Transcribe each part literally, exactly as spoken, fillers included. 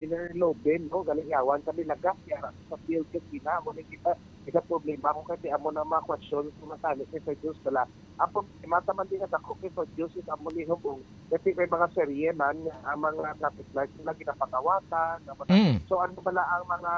Engineer Loben, no, galing yawan kami lagas, yara sa field kasi na, amo ni kita, kita problema ko kasi amo na mga question ko matani kay Sir Diyos, wala. Ang problema, taman din na dako kay Sir Diyos, is amo ni hubong, kasi may mga serye man, ang mga traffic lights nila ginapakawatan, ang mga, Mm. so ano bala ang mga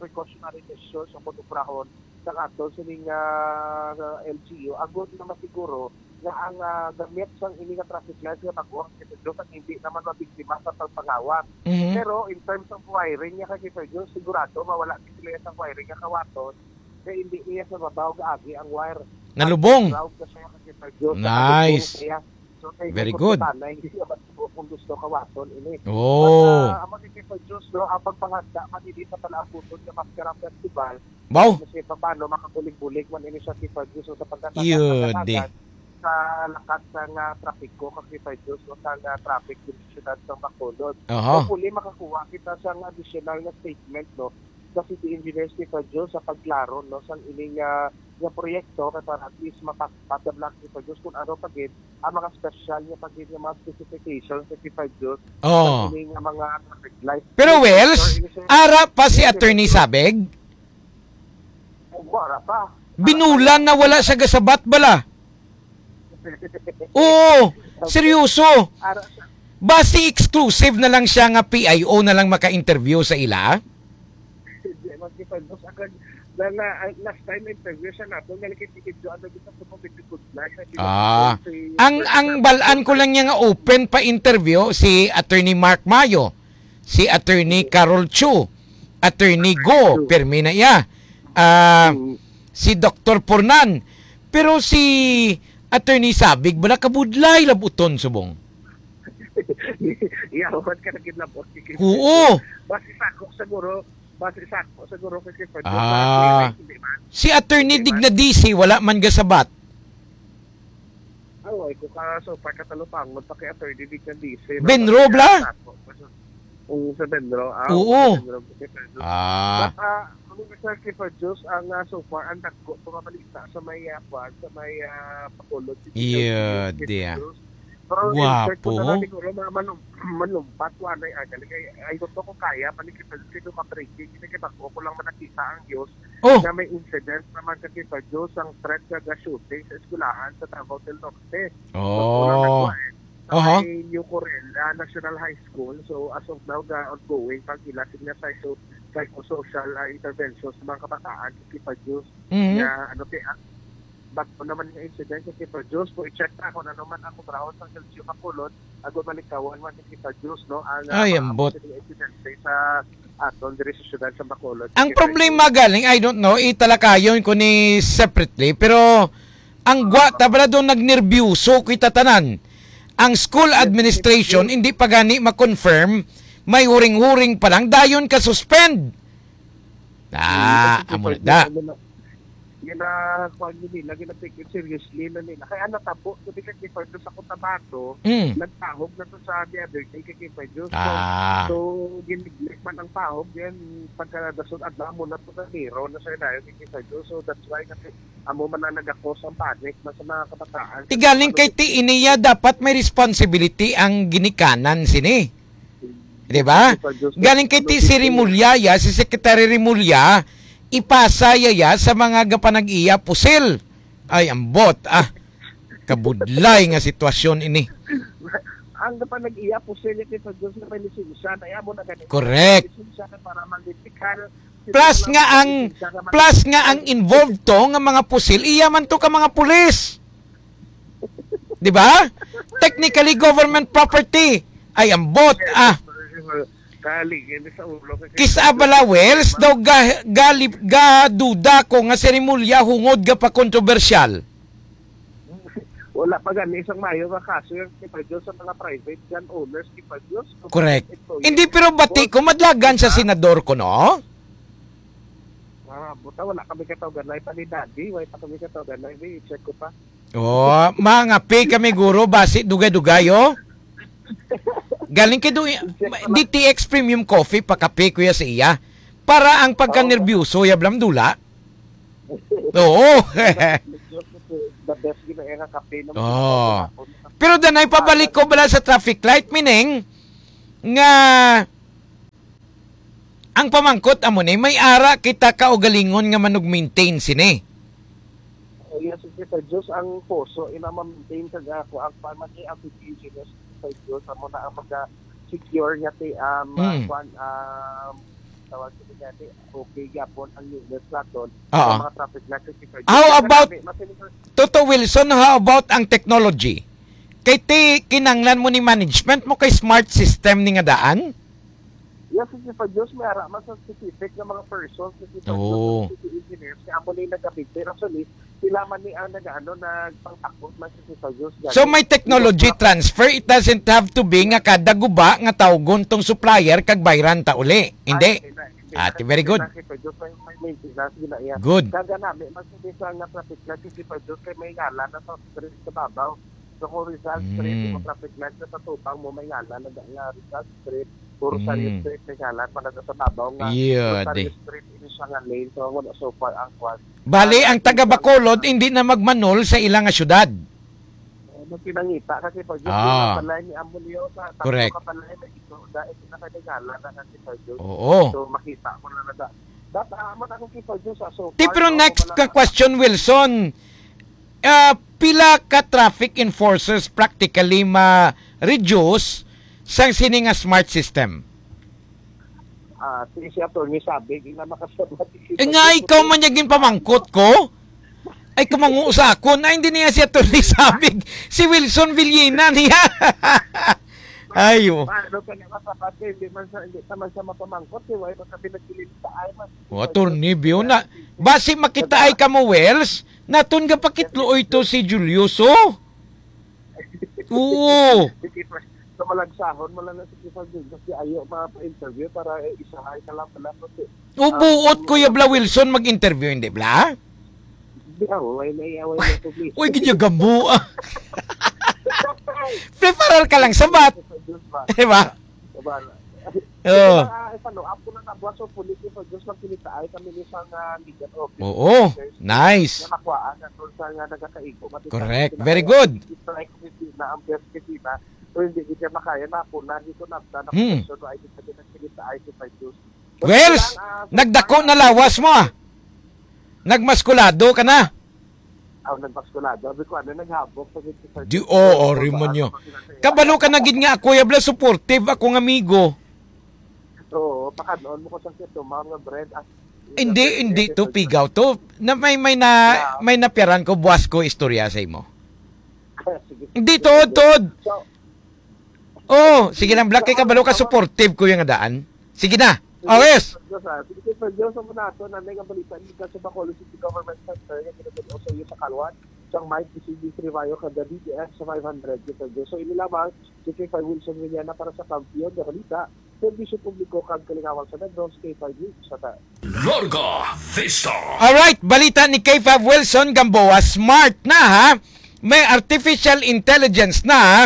precautionary measures o kunuprahon sa ato sining, ah, L G U, agod na masiguro nga ang, ah, gamit sang ini nga traffic lights nga bag-o ang Diyos ang hindi naman mabiktima sa pagpangawat. Mhm. Pero in terms of wiring niya kay Sir Diyos, sigurado mawala ni sila sa wiring nga kawaton kay hindi niya sa babaw gaagi ang wire. Nalubong. Ground na siya kay Sir Diyos. Nice. Nalubong siya. So, kay Very kung good. Tanay, hindi siya matubo kung gusto kawaton ini. Oh. But, ah, amo ni Sir Diyos, no, ang pagpanganda man ini sa Palabuton nga Maskara Festival, Wow. Kasi pa, paano makabulig-bulig man ini siya si Ferguson sa pagkatapos Yun, sa di. Sa lakat sa nga trapiko kag si Ferguson sa nga traffic diri sa siyudad sa Bacolod. Aha. Hopefully, makakuha kita sa nga additional nga statement, no, sa city engineer si Ferguson sa pagklaro, no, sa ining, ah, nga proyekto kay para at least mapat-, mapadablan si Ferguson kung ano pa gid ang mga special nga pa gid nga mga specifications sa si Ferguson Oh. Sa ining nga mga traffic light. Pero, Yes, Wells, sir, yes, sir. Ara pa si Yes, sir. Attorney Sabig? Wala pa. Binulan na wala siya gasabat bala. Oo, seryoso. Ara sa Basi exclusive na lang siya nga P I O na lang maka-interview sa ila? Hindi, magkipag-, sa akin, na, na, ang last time interview siya nato, nga nakikita ano, gusto ko, may good luck, na Ah, si ang, ang balan ko lang niya nga open pa interview si Attorney Mark Mayo, si Attorney Carol Chu, Attorney Go, Chu. Pirmi na iya. Ah, Mm. Si Doktor Pornan. Pero si Attorney Sabig, bala kabudlay labuton subong. Iya, huwag ka nagkidnapot. Oo. Basi sako siguro, basi sako siguro kay Sir Ferdinand. Ah. Hindi man. Si Attorney Hindi man. Dignadisi, wala man gasabat. Aw, ay, ko ka, so, pagkatalupangon pa kay Attorney Dignadisi, no? Benro, Basi bla? Sako. Kung sa Benro, ah, Oo. Sa Benro, kay Ferdinand. Ah. But, ah, kung sa kay Ferdinand, ang, ah, so far, ang dagko, mga balita sa may, ah, kwan, sa may, ah, Bacolod, si Iya, Ferdinand, kay dia. Ferdinand. Pero in fact, Guwapo. Kung na siguro, mga malum-, malumpat, wala yung agal. Kaya, ay, gusto ko kaya, panikipin, kaya ka-breaking, kasi bako ko lang manakita ang news Oh. Na may incident naman sa Kipa Diyos ang threat nga ga-shooting sa eskwelahan sa Davao del Norte. Oh. Sa unang nagwa, eh, sa Aha. May New Corel, ah, National High School. So, as of now, ga-ongoing pang ila sila psycho-, psychosocial, ah, intervention sa mga kabataan sa Kipa Diyos. Mhm. Nga, ano, ti-, ah, bago naman nga incident sa Kipa Diyos. Kung i-check na kung ano man ang kutraon sa L G U Bacolod, ago malikawan man sa Kipa Diyos, no? Ang, ah, Ay, mga ambot. Sila incident sa aton diri sa siyudad sa Bacolod. Ang Secretary. Problema galing, I don't know, italakayon ko ni separately, pero ang gwa ta bala doon nagnerbyuso kita tanan. Ang school Yes, administration, yes, yes. Hindi pa gani ma-confirm, may huring-huring pa lang, dayon ka suspend. Ah, Hmm, amo na, da. Ano na, Gina-, kuwan yun nila, gina-take it seriously na nila. Kaya ang natabo, sabi ka, Kipa Diyos, sa Cotabato, Mm. nagtahog na to sa the other day kay Kipa Diyos. So, Ah. so, giniglik man ang tahog, yan, pagka dason adlaw mo na to sa zero na sa ilayo kay Kipa Diyos. So, that's why kasi amo man ang nagakos ang panic na sa mga kabataan. Ti galing kay ti iniya, dapat may responsibility ang ginikanan sini. Di ba? Galing kay ti si Remulla, ya, si Secretary Remulla, ipasa ya, ya sa mga gapanag-iya pusil. Ay, ambot, ah. Kabudlay nga sitwasyon ini. Ang gapanag-iya pusil, ya, kay Diyos na may lisensya, na amo na ganito. Correct. Lisensya na para mag-medical. Plus nga ang, plus nga ang involved to nga mga pusil, iya man to ka mga pulis. Di ba? Technically, government property. Ay, ambot, ah. Kali, hindi sa ulo. Kisa bala, Wells, daw ga-, gali-, gaduda ko nga seremolya hungod ga pa kontrobersyal. Wala pa gani isang mayo nga kaso yung Kipa Diyos sa mga private gun owners, Kipa Diyos. Correct. Employees. Hindi, pero bati ko, madlagan sa Diba? Senador ko, no? Ah, buta, wala kami katawagan na ipanidadi, wala pa kami katawagan na, i-check ko pa. Oh, mangapi kami, guro, basi dugay-dugay, oh. Galing kay du-, D T X Premium Coffee, pakape ko ya sa iya. Para ang pagkanerbyoso, ya blamdula. Oo. The best gina nga kape ng Oh. Pero danay pabalik ko bala sa traffic light, meaning nga Ang pamangkot amo ni, may ara kita kaugalingon nga manug-maintain sini? Oh, yes, sige, sa Diyos ang puso, ina ma-maintain sa ako ang pamati ang P P G, yes, sa Diyos amo na ang maga-secure nga ti, um, Mm. kwan, um, tawag ko niya, ti, okay gyapon ang unit naton Oo. sa mga traffic lights, sige, sa Diyos. How Kaya about, kami, mas Toto Wilson, how about ang technology? Kay ti, kinanglan mo ni management mo kay smart system ni nga daan? Yes, sige, sa Diyos, may ara man sa specific nga mga persons, sige, sa Diyos, Oo. City engineers, kaya amo ni nagkabigti. Actually, sila man ni ang nag-ano, nagpangtakot man, sige, sa Diyos. So, may technology transfer, it doesn't have to be nga kada guba nga tawgon tong supplier kag bayran ta uli. Hindi. Ay, hindi na, hindi na. Ah, very good. Kasi sa Diyos, may, may maintenance, yun na iya. Good. Kaya nami, mas hindi sa nga traffic light, sige, sa Diyos, kay may ngalan na sa street sa babaw. So, kung Rizal Street, Mm. yung traffic light na sa tubang mo, may ngalan na nga Rizal Street, o Rosario Mm. Street, may ngalan pa na sa babaw nga Iya, Rosario di. Street, ini siya nga lane. So, wala so far ang kwan. Bali, Ang ang taga Bacolod, hindi na magmanol sa ila nga syudad. Eh, magpinangita kasi pag yung Ah. Kapalay ni Amulio sa tatlo Correct. Kapalay na ito, dahil sila kay ngalan na kasi pag yun. Oo. So, makita mo na na da-, dat-, ah, mo na kung kita yun sa so Ti, far, pero no, next wala ka na. Question, Wilson, ah, pila ka traffic enforcers practically ma-reduce sang sini nga smart system? Ah, si, si Attorney Sabig, ina makasabat. Eh, nga ikaw man yung ginpamangkot ko? Ay, kumangu sa akon. Ay, hindi niya si Attorney Sabig. Si Wilson Villena niya. Ay, oh. Ano ka nga masabat, eh, hindi man sa, hindi naman sa mapamangkot, eh, why ba kami nagkilimta, ay, man. Oh, Attorney Biona. Basi makita ay ka mo, Wells, naton nga pakitluoy to si Julius, oh. Oo. Sige, pre. So, malagsahon mo lang na si Kifag Junior. Di ayo mga pa-interview para, eh, isahay ka lang pala. Kasi, O, ah, buot, Kuya Bla Wilson, mag-interview, hindi, Bla? Di ako, way na, way na publicity. Uy, ginyagambo, ah. Preparar ka lang, sabat. Sa Diyos ba? Diba? Diba? Oo. Kaya, ah, follow up ko na nabuhat sa police, sa Diyos lang kinitaay kami ni isang, ah, legal officer. Oo, nice. Nga makuhaan na doon sa nga nagakaigo. Mati Correct. Very good. Strike committee na ang best kasi na, so hindi kita makaya na po, na dito na, na, na, Hmm. So, ay, dito na kinitaay si Diyos. But Wells, lang, ah, sa nagdako na lawas mo, ah. Nagmaskulado ka na. Aw, nagmaskulado. Sabi ko, ano, naghabok. Sabi ko, Di, oo, Rimonyo. Kabalo ka na gid nga ako, yabla, supportive akong amigo. Oo, pakadlon mo ko sa kito, mga brand. Ah, Hindi, hindi to pigaw to. Na may, may na, Yeah. May napiaran ko, buwas ko istorya sa imo. Sige. Hindi, tuod, tuod. So, Oh, sige lang, Black, kay kabalo ka, supportive ko yung daan. Sige na. Oh, yes. Sige, Sir Jones, ah. Sige, Sir Jones, ang muna ato, nanay nga balita, gikan sa Bacolod City Government Center, nga ginagad-, sa iyo sa Kalwan, sa may P C D three Bayo, kada D T F sa five hundred, Sir Jones. So, ini lamang, si K five Wilson Villana para sa Kampiyon nga Balita, Serbisyo Publiko kag Kalingawan sa Negros, K five News, sa ta-, Larga Vista. Alright, balita ni K five Wilson Gamboa, smart na, ha? May artificial intelligence na, ha?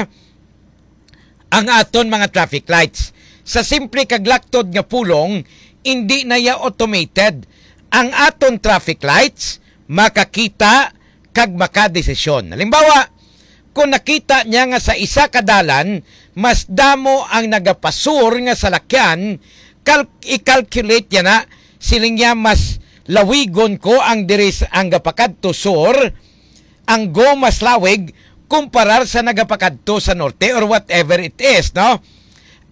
Ang aton mga traffic lights. Sa simple kag laktod nga pulong, indi na ya automated. Ang aton traffic lights makakita kag makadesisyon. Halimbawa, kung nakita niya nga sa isa ka dalan, mas damo ang nagapasur nga salakyan, kal-, i-calculate niya na, siling niya, mas lawigon ko ang diri sa, ang gapakadto sur, ang go mas lawig kumparar sa nagapakadto sa norte or whatever it is, no?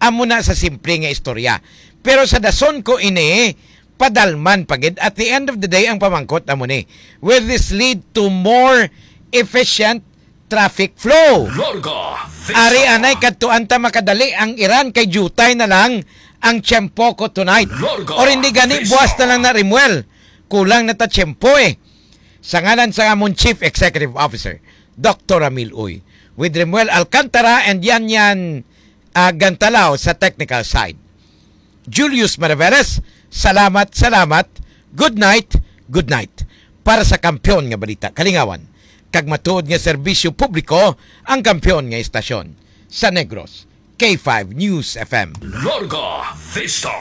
Amo na sa simple nga istorya. Pero sa dason ko ini, padalman pa gid. At the end of the day, ang pamangkot amo ni, will this lead to more efficient traffic flow? Larga Vista. Ari anay kadtuan ta makadali ang Iran kay jutay na lang ang tiyempo ko tonight. Larga Or hindi gani, Vista. Buwas na lang na, Rimuel. Kulang na ta tiyempo, eh. Sa ngalan sa amon Chief Executive Officer, Doctor Ramil Uy, with Rimuel Alcantara and Yan Yan, ah, Gantalaw sa technical side. Julius Maraveles, salamat, salamat. Good night, good night. Para sa kampiyon nga balita, kalingawan, kag matuod nga serbisyo publiko, ang kampiyon nga istasyon sa Negros, K five News F M. Larga Vista.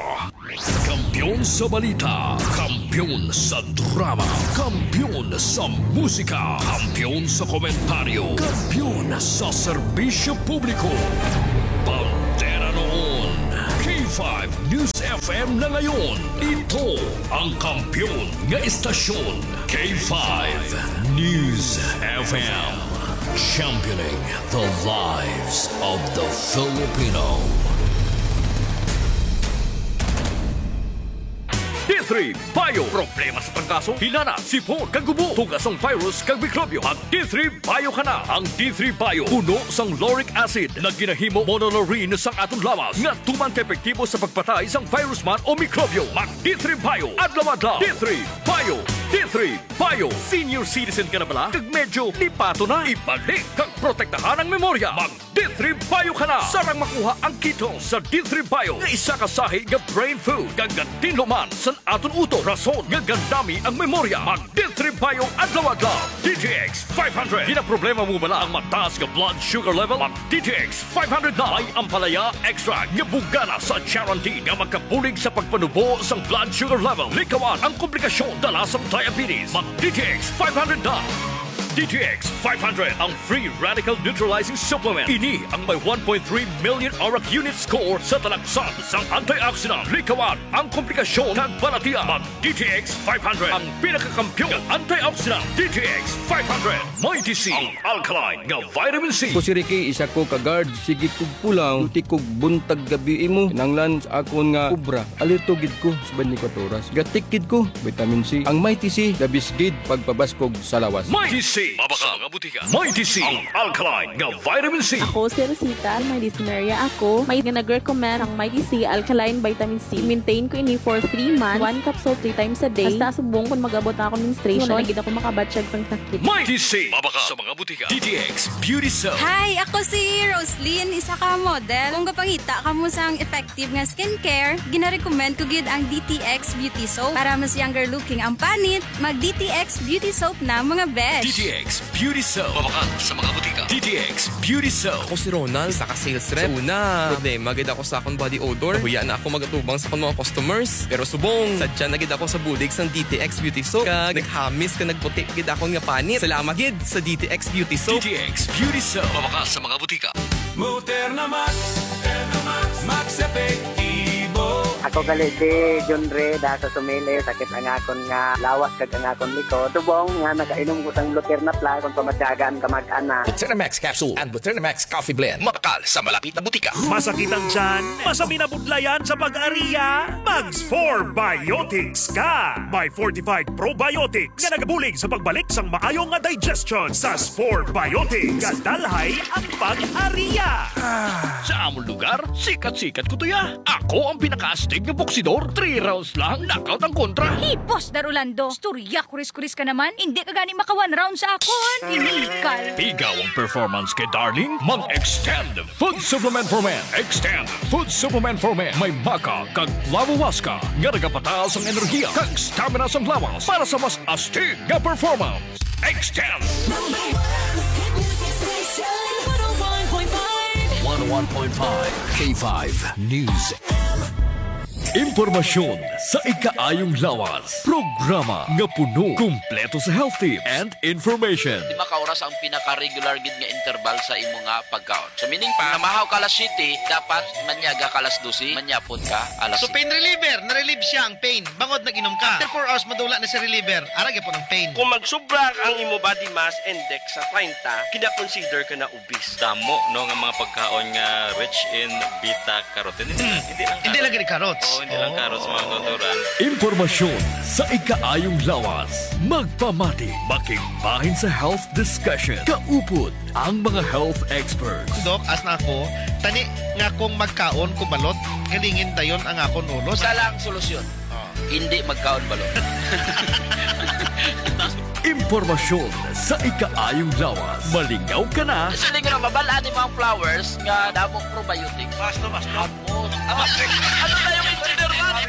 Kampiyon sa balita, kampiyon sa drama, kampiyon sa musika, kampiyon sa komentaryo, kampiyon sa serbisyo publiko. Bandera noon, K five News F M na ngayon. Ito ang kampiyon nga istasyon, K five News F M. Championing the lives of the Filipino. D three Bio. Problema sa trangkaso, hilanat, sipon, kag ubo, tugas sang virus kag mikrobyo. Mag D three Bio ka na. Ang D three Bio puno sang lauric acid nga ginahimo monolaurin sang aton lawas nga tuman ka epektibo sa pagpatay sang virus man o mikrobyo. Mag D three Bio adlaw-adlaw. D three Bio. D three Bio. Senior citizen ka na bala? Kag medyo lipaton na? Ibalik kag protektahan ang memorya. Mag D three Bio ka na. Sarang makuha ang ketone sa D three Bio nga isa ka sahi nga brain food kag gatinlo man sa aton utok, rason nga gandami ang memorya. Mag D three Bio adlaw-adlaw. D T X five hundred. Ginaproblema mo bala ang mataas nga blood sugar level? Mag D T X five hundred na. May ampalaya extract nga bugana sa charantin nga makabulig sa pagpanubo sang blood sugar level. Likawan ang komplikasyon dala sang diabetes. Mag D T X five hundred na. D T X five hundred, ang free radical neutralizing supplement. Ini ang may one point three million arak unit score sa talaksan sang antioxidant. Likawan ang komplikasyon kag balatian. Mag D T X five hundred, ang pinakakampiyon nga antioxidant. D T X five hundred, Mighty C, ang alkaline nga vitamin C. Ako si Ricky, isa ko ka guard. Sige kog pulaw, duty kog buntag gabi imo. Kinahanglan sa akon nga obra. Alerto gid ko sa twenty-four oras. Gatik gid ko, vitamin C. Ang Mighty C, the best gid pagpabaskog sa lawas. Mighty C, mabakal nga butika. Mighty C, ang alkaline nga vitamin C. Ako si Rosita, may dysmenorrhea ako. May nga nag-recommend ang Mighty C alkaline vitamin C. Maintain ko ini for three months. One capsule three times a day. Hasta subong kon mag-abot na akong menstruation, wala na gid ako makabatyag sang sakit. Mighty C, mabakal sa mga butika. D T X Beauty Soap. Hi, ako si Roslyn, isa ka model. Kung gapangita kamo sang effective nga skincare, ginarecommend ko gid ang D T X Beauty Soap. Para mas younger looking ang panit, mag D T X Beauty Soap na, mga besh. D T X Beauty Soap. Mabakal sa mga butika. D T X Beauty Soap. Ako si Ronald, isa ka sales rep. Sa una, problema gid ako sa akong body odor. Nahuya na ako mag-atubang sa akong mga customers. Pero subong, sadya na gid ako sa bulig sang D T X Beauty Soap. Kag naghamis ka nagputi gid akon nga panit. Salamat gid sa D T X Beauty Soap. D T X Beauty Soap. Mabakal sa mga butika. Moderna Max, Moderna Max, Max Epektibo. Ako gali si John Ray, da sa Sumili, sakit ang akon nga lawas kag ang akon likod. Subong nga nakainom ko sang Luterna Plus, kung pamatyagan ka mag-ana. Luterna Max Capsule and Luterna Max Coffee Blend, mabakal sa malapit na butika. Masakit ang tiyan? Masami na budlayan sa pag-ariya? Mag Spore Biotics ka! May fortified probiotics nga nagabulig sa pagbalik sang maayo nga digestion. Sa Spore Biotics, gadalhay ang pag-ariya. Sa amon lugar, sikat-sikat ko tuya. Ako ang pinakaastig nga boksidor. Three rounds lang, knockout ang kontra. Hey, Boss Dar Orlando, istorya kuris-kuris ka naman. Hindi ka gani maka one round sa akon. Illegal. Pigaw ang performance kay Darling. Mag-extend Food Supplement for Men. Extend Food Supplement for Men. May maca kag clavo huasca nga nagapataas ang enerhiya kag stamina sang lawas para sa mas astig nga performance. Extend. Number one hit music station, one oh one point five. One oh one point five K five News. Impormasyon sa ikaayong lawas. Programa nga puno, kumpleto sa health tips and information. Lima ka oras ang pinaka-regular gid nga interval sa imo nga pagkaon. So, meaning pa, namahaw ka alas siyete, dapat manyaga ka alas dose, manyapon ka alas So, pain reliever, na-relieve siya ang pain. Bangod nag-inom ka. After four hours, madula na si reliever. Ara gyapon ang pain. Kung magsubra ang imo body mass index sa treinta, kina-consider ka na obese. Damo, no, nga mga pagkaon nga rich in beta carotene. Hindi lang Hindi lang carrots. Gani carrots. Oo, hindi lang carrots, mga Oh. kautoran. Impormasyon sa ikaayong lawas. Magpamati, makigbahin sa health discussion. Kaupod ang mga health experts. Dok, as na ako, tani nga kung magkaon ko balot, galingin dayon ang akon ulo. Isa lang solusyon. Oh. Hindi magkaon balot. Impormasyon sa ikaayong lawas. Malingaw ka na. Actually, nga mabal-an ni mga flowers nga damo probiotics. Basta, basta. Ano? Ano na yung engineer man?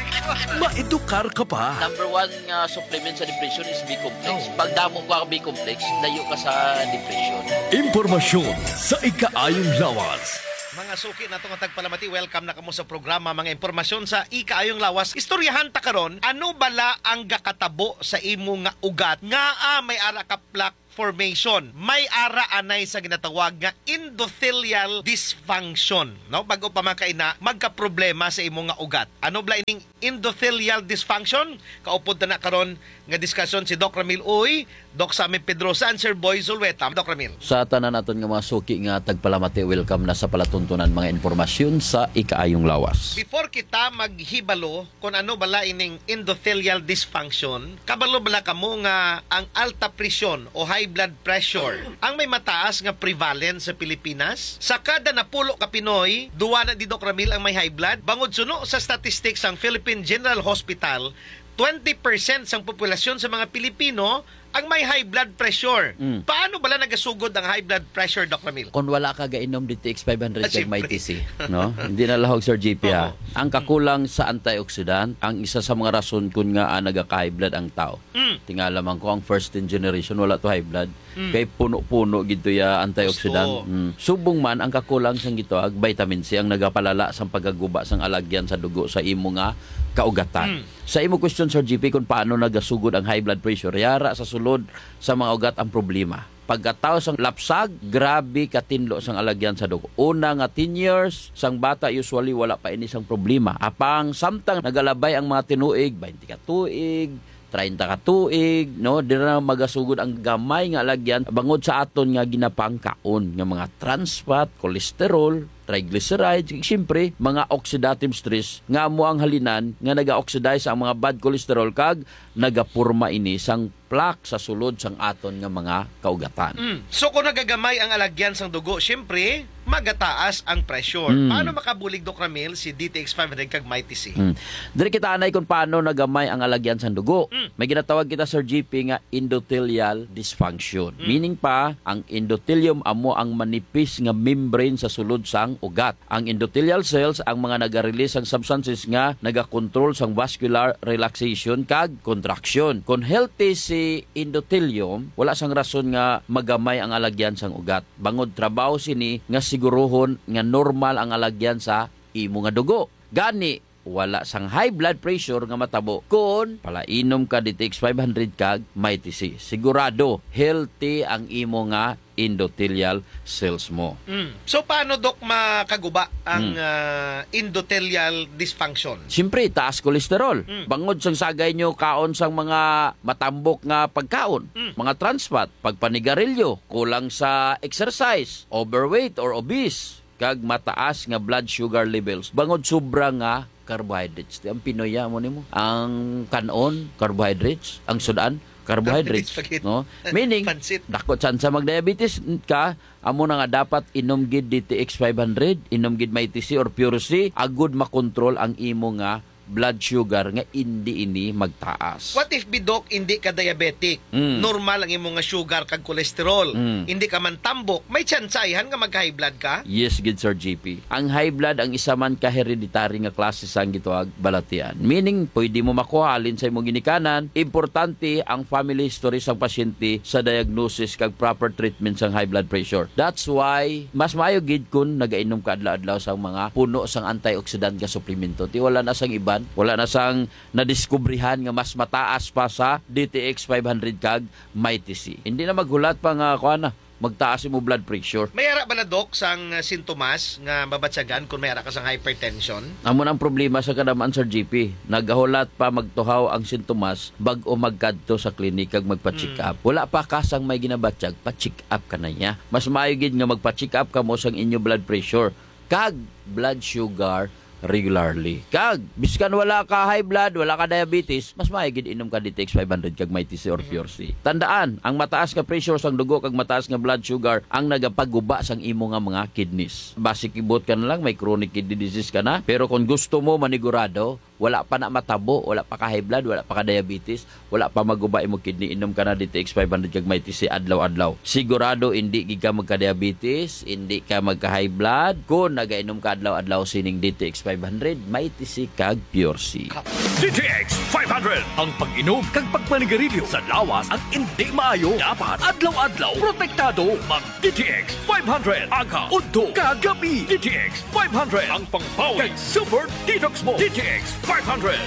Maedukar ka pa. Number one nga supplement sa depression is B-complex. Oh. Pag damo ka B-complex, layo ka sa depression. Impormasyon sa ikaayong lawas. Mga suki nato nga tagpalamati, welcome na kamo sa programa, mga impormasyon sa ikaayong lawas. Istoryahan ta karon, ano bala ang gakatabo sa imo nga ugat nga, ah, may ara ka plaque formation. May ara anay sa ginatawag nga endothelial dysfunction, no? Bago pa man kaina, magkaproblema sa imo nga ugat. Ano bala ining endothelial dysfunction? Kaupod ta na karon nga diskusyon si Doc Ramil Uy, Doc Sammy Pedrosa, and Sir Boy Zulueta. Doc Ramil. Sa tanan naton nga mga suki nga tagpalamati, welcome na sa palatuntunan mga impormasyon sa Ikaayong Lawas. Before kita maghibalo kung ano bala ining endothelial dysfunction, kabalo bala kamo nga ang alta presyon o high blood pressure ang may mataas nga prevalence sa Pilipinas? Sa kada napulo ka Pinoy, duwa na di, Doc Ramil, ang may high blood. Bangod suno sa statistics sang Philippine General Hospital, twenty percent sang populasyon sa mga Pilipino ang may high blood pressure. Mm. Paano bala nagasugod ang high blood pressure, Doc Ramil? Kung wala ka gainom D T X five hundred Ah, kag may siyempre. T C, no? Hindi na lahog, Sir G P, ha? Oo. Ang kakulang sa antioxidant, ang isa sa mga rason kun nga, ah, nagaka-high blood ang tao. Mm. Tingala man ko, ang first ten generation, wala to high blood. Mm. Kay puno-puno gid to ya antioxidant. Gusto. Mm. Subong man, ang kakulang sang gitawag vitamin C ang nagapalala sang pagkaguba sang alagyan sa dugo sa imo nga kaugatan. Mm. Sa imo question, Sir G P, kung paano nagasugod ang high blood pressure, yara sa sulod sa mga ugat ang problema. Pagkatawo sang lapsag, grabe katinlo sang alagyan sa dugo. Una nga ten years, sang bata usually wala pa ini sang problema. Apang samtang nagalabay ang mga tinuig, twenty ka tuig, treinta ka tuig, no, dira na magasugod ang gamay nga alagyan bangod sa aton nga ginapangkaon nga mga trans fat, cholesterol, triglycerides, ug siyempre, mga oxidative stress nga amo ang halinan nga naga-oxidize ang mga bad cholesterol kag nagaporma ini sang plaque sa sulod sang aton nga mga kaugatan. Mm. So, kung nagagamay ang alagyan sang dugo, siyempre, magataas ang pressure. Mm. Paano makabulig, Doc Ramil, si D T X five hundred kag Mighty C? Mm. Diri kita anay kung paano nagamay ang alagyan sang dugo. Mm. May ginatawag kita, Sir G P, nga endothelial dysfunction. Mm. Meaning pa, ang endothelium amo ang manipis nga membrane sa sulod sang ugat. Ang endothelial cells ang mga naga-release sang substances nga nagakontrol sang vascular relaxation kag contraction. Kon healthy si endothelium, wala sang rason nga magamay ang alagyan sang ugat. Bangod trabaho sini nga siguruhon nga normal ang alagyan sa imo nga dugo. Gani, wala sang high blood pressure nga matabo kon palainom ka D T X five hundred kag Mighty C. Sigurado, healthy ang imo nga endothelial cells mo. Mm. So, paano, Doc, makaguba ang, Mm. ah, endothelial dysfunction? Siyempre, taas cholesterol. Mm. Bangod sang sagay nyo kaon sang mga matambok nga pagkaon, Mm. mga trans fat, pagpanigarilyo, kulang sa exercise, overweight or obese, kag mataas nga blood sugar levels bangod sobra nga carbohydrates. Di ang Pinoy, ah, mo nimo. Ang kanon, carbohydrates. Ang sudan, carbohydrates, Carbohydrates, spaghetti. No? Meaning, Pansit. dako tsansa mag-diabetes ka, amo na nga dapat inom gid D T X five hundred, inom gid Mighty C or Pure C, agud makontrol ang imo nga blood sugar nga indi ini magtaas. What if, Bidok, indi ka diabetic? Mm. Normal ang imo nga sugar kag cholesterol. Mm. Indi ka man tambok, may tsansa ayhan nga mag-high blood ka? Yes gid, Sir G P. Ang high blood ang isa man ka hereditary nga klase sang gitawag balatian. Meaning, pwede mo makuha halin sa imong ginikanan. Importante ang family history sang pasyente sa diagnosis kag proper treatment sang high blood pressure. That's why mas maayo gid kun nagainom ka adlaw-adlaw sang mga puno sang antioxidant nga suplemento. Ti wala na sang iban, wala na sang nadiskubrihan nga mas mataas pa sa D T X five hundred kag Mighty C. Hindi na maghulat pa nga, kuan na, magtaas imo blood pressure. May ara bala, Doc, sang, uh, sintomas nga mabatyagan kung may ara ka sang hypertension? Amo na ang problema sa kadaman, Sir G P. Nagahulat pa magtuhaw ang sintomas bag-o magkadto sa klinik kag magpa-check Mm. up. Wala pa ka sang may ginabatyag, pa-check up ka na niya. Mas maayo gid nga magpa-check up kamo sang inyo blood pressure kag blood sugar regularly. Kag, biskan wala ka high blood, wala ka diabetes, mas maayo gid inom ka D T X five hundred kag Mighty C or Mhm. Pure C. Tandaan, ang mataas nga pressure sang dugo kag mataas nga blood sugar ang nagapaguba sang imo nga mga kidneys. Basi kibot ka na lang, may chronic kidney disease ka na. Pero kung gusto mo manigurado, wala pa na matabo, wala pa ka high blood, wala pa ka diabetes, wala pa maguba imo kidney, inom ka na D T X five hundred kag Mighty C adlaw-adlaw. Sigurado hindi gid ka magka-diabetes, hindi ka magka-high blood kung nagainom ka adlaw-adlaw sining D T X five hundred, Mighty C kag Pure C. D T X five hundred, ang pag-inom kag pagpanigarilyo sa lawas ang hindi maayo. Dapat adlaw-adlaw protektado. Mag D T X five hundred, aga, udto, kag gabi. D T X five hundred, ang pangbawi kag super detox mo. D T X five hundred.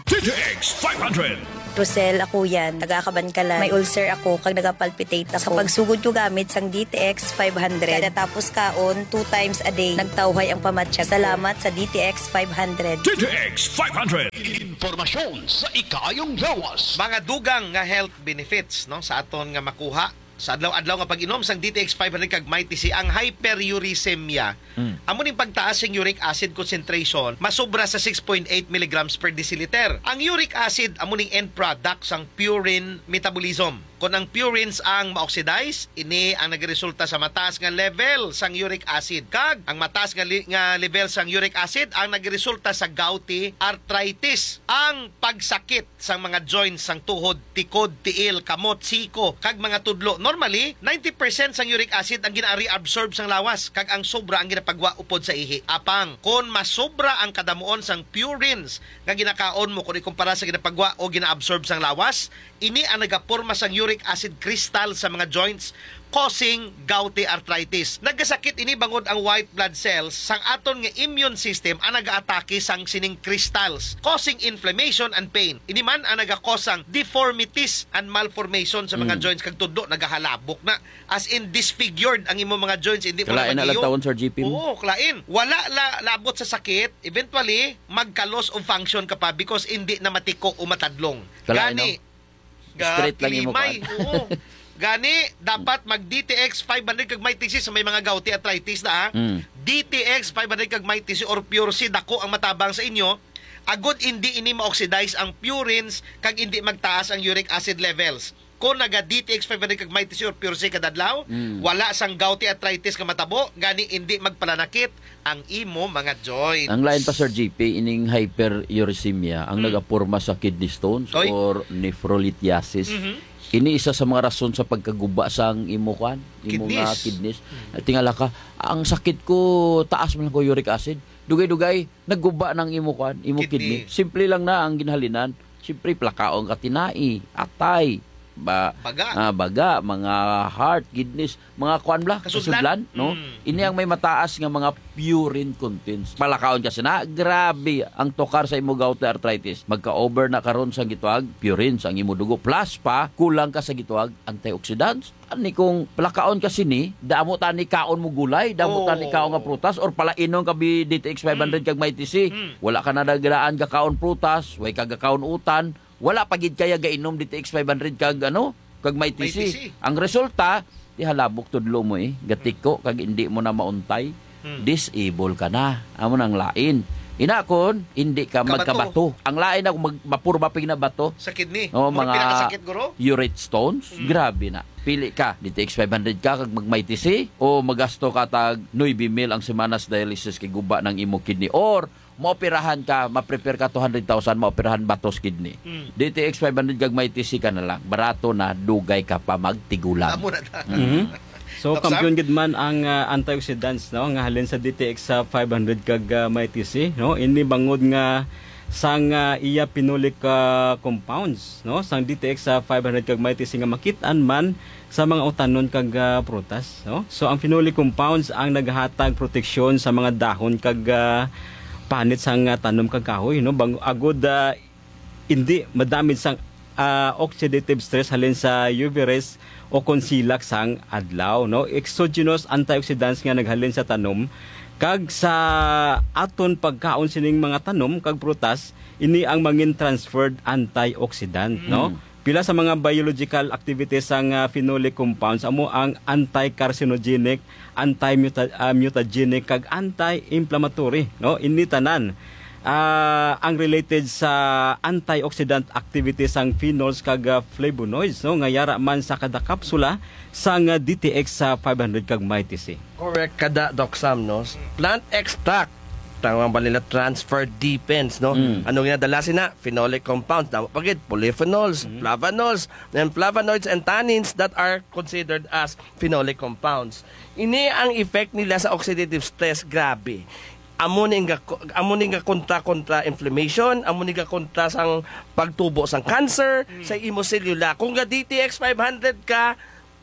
D T X five hundred. Rosel, ako yan. Taga Kabankalan. May ulcer ako, kag nagapalpitate ako. Sa pagsugod ko gamit sang D T X five hundred, kada tapos kaon, two times a day, nagtawhay ang pamatsyag. Salamat sa D T X five hundred. D T X five hundred. Impormasyon sa ikaayong lawas. Mga dugang nga health benefits, no, sa aton nga makuha sa adlaw-adlaw nga pag-inom sang D T X five hundred kag Mighty C, ang hyperuricemia. Mm. Amo ning pagtaas sing uric acid concentration, masubra sa six point eight milligrams per deciliter. Ang uric acid amo ning end product sang purine metabolism. Kon ang purines ang ma-oxidize, ini ang nagresulta sa mataas nga level sang uric acid. Kag ang mataas nga, li- nga level sang uric acid ang nagresulta sa gouty arthritis, ang pagsakit sang mga joints sang tuhod, tikod, tiil, kamot, siko, kag mga tudlo. Normally, ninety percent sang uric acid ang gina-reabsorb sang lawas, kag ang sobra ang ginapagwa upod sa ihi. Apang, kon masobra ang kadamuon sang purines nga ginakaon mo kon ikumpara sa ginapagwa o ginaabsorb sang lawas, ini ang nagaporma sang uric acid crystal sa mga joints, causing gouty arthritis. Nagkasakit ini bangod ang white blood cells sang aton nga immune system ang nagaatake sang sining crystals, causing inflammation and pain. Ini man ang nagakos sang deformities and malformation sa mga Mm. joints, kag tudlo nagahalabok na. As in, disfigured ang imo mga joints, hindi mo na Kalain na lang magiyo. Tawon, Sir G P mo. Oo, kalain. Wala la labot sa sakit, eventually, magka-loss of function ka pa because hindi na matiko o matadlong. Kalain, Gani, no? Straight lang imo, Gaklimay, kuan. Oo. Gani, dapat mag D T X five hundred kag Mighty C sa may mga gouty arthritis na, ha? Mm. D T X five hundred kag Mighty C or Pure C, dako ang matabang sa inyo. Agod hindi ini ma-oxidize ang purines kag hindi magtaas ang uric acid levels. Kung naga D T X five hundred kag Mighty C or Pure C kada adlaw, Mm. wala sang gouty arthritis nga matabo, gani hindi magpalanakit ang imo mga joints. Ang lain pa, Sir G P, ining hyperuricemia ang Mm. nagaporma sa kidney stones Oy. or nephrolithiasis. Mhm. Ini isa sa mga rason sa pagkaguba sang imo, kuan, imo nga Kidneys. kidneys. Mm. Tingala ka, "Ang sakit ko, taas man ko uric acid. Dugay-dugay, nagguba nang imo, kuan, imo Kidney. kidney." Simple lang na ang ginhalinan. Siyempre, plakaon ka tinai, atay, ba, Baga. ah, baga, mga heart, kidneys, mga kuan bla, Kasudlan. kasudlan, no? Mm. Ini ang may mataas nga mga purine contents. Palakaon ka sina, grabe ang tukar sa imo gout arthritis. Magka-over na karon sa gituwag purines ang imo dugo. Plus pa, kulang ka sa gituwag antioxidants. Ani kung palakaon ka sini, damo tani kaon mo gulay, damo Oo. tani kaon nga prutas, or palainon ka bi D T X five hundred Mm. kag Mighty C. Mm. Wala ka na nagdaan ka kaon prutas, way ka gakaon utan, wala pa gid kaya gainom D T X five hundred kag ano, kag Mighty C. Mighty C. Ang resulta, tihalabok tudlo mo eh, gatiko kag hindi mo na mauntay. Hmm. Disable ka na. Amo nang lain. Ina kon hindi ka Kabato. magkabato. Ang lain ako mag mapurba pig na bato. Sa kidney. Oh, Murag mga pinakasakit, guro? urate stones. Hmm. Grabe na. Pili ka, D T X five hundred ka kag mag Mighty C, o magasto ka tag nuebe mil ang semana sa dialysis kay guba ng imo kidney, or maoperahan ka, ma-prepare ka two hundred thousand, maoperahan batos kidney. Mm. D T X five hundred kag Mighty C ka na lang. Barato na, dugay ka pa magtigulang. Amo na ta. Mhm. So, Doc Sam? kampiyon gid man ang, ah, antioxidants, no, nga halin sa D T X sa five hundred kag, ah, Mighty C, no? Ini bangod nga sang, ah, iya phenolic, ah, compounds, no, sang D T X sa five hundred kag Mighty C nga makit-an man sa mga utanon kag, ah, prutas, no? So, ang phenolic compounds ang naghatag proteksyon sa mga dahon kag, ah, panit sang, ah, tanom kag kahoy, no? Bang-, agud, ah, hindi madamage sang, ah, oxidative stress halin sa U V rays o kon silak sang adlaw, no? Exogenous antioxidants nga naghalin sa tanom kag sa aton pagkaon sining mga tanom kag prutas, ini ang mangin transferred antioxidant, no? Mm. Pila sa mga biological activities sang, ah, phenolic compounds amo ang anti-carcinogenic, anti-muta-, ah, mutagenic, kag anti-inflammatory, no? Ini tanan, ah, ang related sa antioxidant activities sang phenols kag, ah, flavonoids, no? Nga yara man sa kada kapsula sang, ah, D T X sa five hundred kag Mighty C. Correct ka da, Doc Sam, no? Plant extract, tawag ba nila transfer depends, no? Mm. Ano ginadala sina? Phenolic compounds, damo pa gid, polyphenols, Mm. flavonols, and flavonoids and tannins that are considered as phenolic compounds. Ini ang effect nila sa oxidative stress, grabe. Amo ni nga, amo ni nga kontra-kontra inflammation, amo ni nga kontra sang pagtubo sang cancer, Mm. sa imo selula. Kung ga D T X five hundred ka,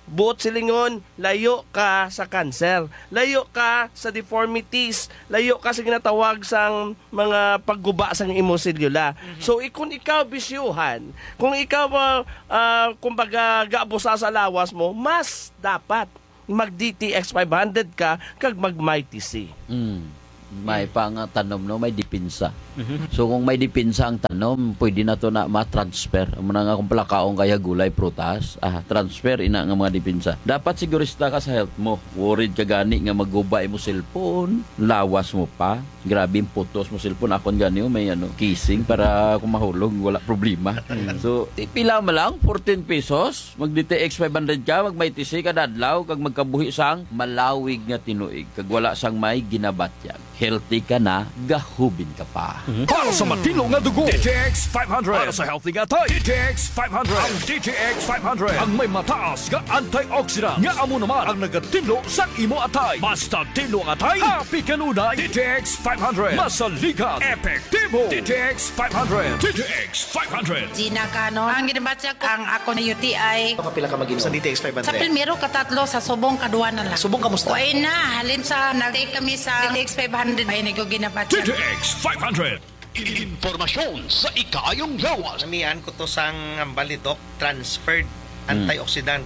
Buot silingon, layo ka sa cancer, layo ka sa deformities, layo ka sa ginatawag sang mga pagguba sang imo selula. Mhm. So, i-, kung ikaw bisyuhan, kung ikaw, ah, ah, kumbaga, gaabusa sa lawas mo, mas dapat mag D T X five hundred ka kag mag Mighty C. Mm. May Mm. pang tanom, no? May depensa. Mhm. So, kung may depensa ang tanom, pwede na to na ma-transfer. Amo na nga kung palakaon kaya gulay, prutas, ah, transfer ina nga mga depensa. Dapat sigurista ka sa health mo. Worried ka gani nga maguba imo cellphone, lawas mo pa. Grabe ang putos mo cellphone. Akon gani, oh, may ano, casing para kung mahulog, wala problema. Mm. So, i-, pila man lang, fourteen pesos, mag D T X five hundred ka, mag Mighty C kada adlaw, kag magkabuhi sang malawig nga tinuig, kag wala sang may ginabatyag. Healthy ka na, gahubin ka pa. Mhm. Para sa matino nga dugo, D T X five hundred. Para sa healthy nga atay, D T X five hundred. Ang D T X five hundred ang may mataas nga antioxidant nga amo naman ang nagatinlo sa imo atay. Basta tinlo ang atay, happy kanunay. D T X five hundred. Masaligan, epektibo. D T X five hundred. D T X five hundred. Gina Canon. Ang ginabatyag ko, ang ako na U T I. Kapila ka mag-inom sa D T X five hundred? Sa primero, katatlo, sa subong, kadwa na lang. Subong, kamusta? Way na, halin sa nag-take kami sa D T X five hundred, ay, nag-, ginabatyag. D T X five hundred. Impormasyon sa ikaayong lawas. Namian ko to sang hambal ni Doc, transferred Hmm. antioxidant.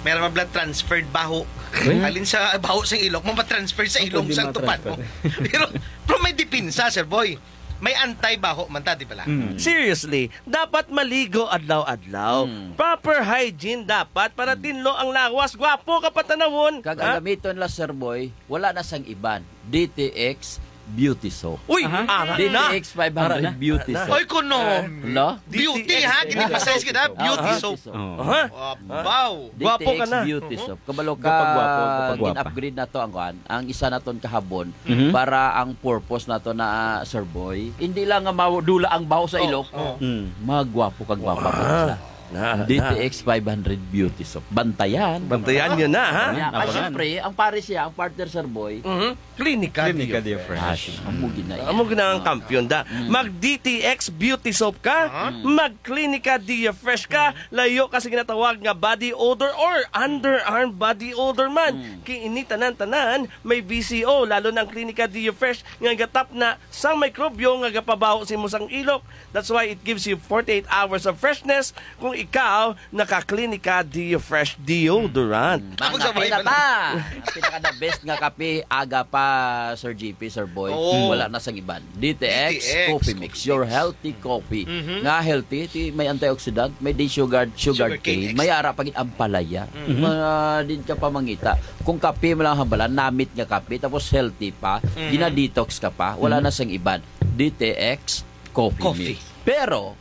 May ra man bala transferred baho. Eh? Halin sa baho sa ilok mo, matransfer sa Ang ilong pwede sa tupan mo. matransfer. Pero, pero may depensa, Sir Boy. May anti-baho man ta, di bala? Mm. Seriously, dapat maligo adlaw-adlaw. Mm. Proper hygiene dapat para Mm. tinlo ang lawas. Gwapo ka patanawon. Kag Ha? ang gamiton la, Sir Boy, wala na sang iban. D T X Beauty Soap. Uy, Aha. ara na. D T X five hundred Ara na. Beauty Ara na. Soap. Oy, kuno. Ah. Lo? Beauty, ha? D T X. Gini-emphasize kita, Beauty Aha. Soap. Oh. Aha. Wow. Gwapo ka D T X na. Beauty Mhm. Soap. Kabalo ka, Gapagwapo, gapagwapa. gin-upgrade na to ang kuan. Ang isa naton kahabon Mhm. para ang purpose nato na, ah, Sir Boy. Hindi lang nga maw-, dula ang baho sa Oh, ilok. oh. Mm. Magwapo kag gwapa Wow. ka sa Na, na. D T X five hundred Beauty Soap. Bantayan. Bantayan niyo na, ha? Yeah. Ah, Abangan. siyempre, ang pare siya, ang partner, Sir Boy. Mhm. Clinica Clinica Dia Dia Fresh. Fresh. Amo gina-, Amo gina ang kampiyon da. Mm. Mag D T X Beauty Soap ka, Aha. mag Clinica Dia Fresh ka, layo ka sa ginatawag nga body odor or underarm body odor man. Mm. Kay ini tanan-tanan may V C O, lalo na ang Clinica Dia Fresh nga gatap na sang mikrobyo nga gapabaho sa imo sang ilok. That's why it gives you forty-eight hours of freshness kung ikaw naka-Clinica Dia Fresh Deodorant. Mm. Ako sa Ang kape na Bible. ta. Ang pinaka-the best nga kape, aga pa, Sir G P, Sir Boy. Oo. Wala na sang iban. D T X D T X Coffee Mix, Coffee your Mix. healthy coffee. Mhm. Nga healthy, ti may antioxidant, may day sugar, sugar Sugar cane cane, extract. may ara pa gid ampalaya. Mhm. Mga din ka pa mangita. Kung kape mo lang hambalan, namit nga kape, tapos healthy pa, Mhm. gina-detox ka pa, wala Mhm. na sang iban. D T X Coffee Coffee. Mix. Pero,